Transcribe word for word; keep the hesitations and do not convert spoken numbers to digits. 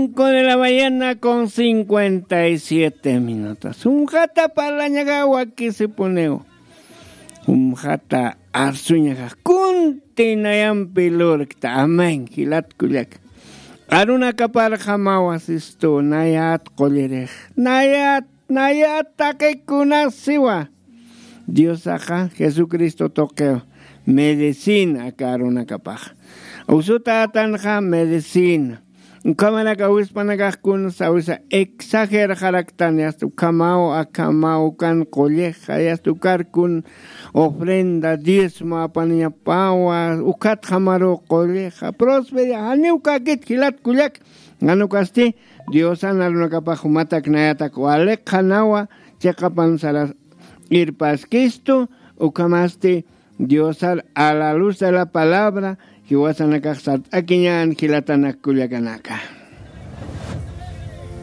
Cinco de la mañana con cincuenta y siete minutos. Jumxata parlañaxa wakisipuniw. Jumxata arsuñaxa kuntinayampi lurkta. Amén. Jilat kullak. Arunakaparxamawa sistu nayat qullirix. Nayat nayat taqikunasiwa. Diosaxa jesucristo tuqiw medicina aka arunakapax. Usutätanxa medicina. Ukhamarak awispanakax kunsa awisa exagerxaraktan yasta ukhamaw akhamaw ukan qullixa yasta ukarkun ofrenda diezmo apaniñapawa ukhatxamaruw qullixa prosperidad janiw kakit jilat kullak. Janukasti diosan arunakapax jumatak nayatak waliqxanawa chiqapan saras irpaskistu. Ukhamasti diosar a la luz de la palabra jiwasanakax sart'akiñän jilatanak kullakanaka.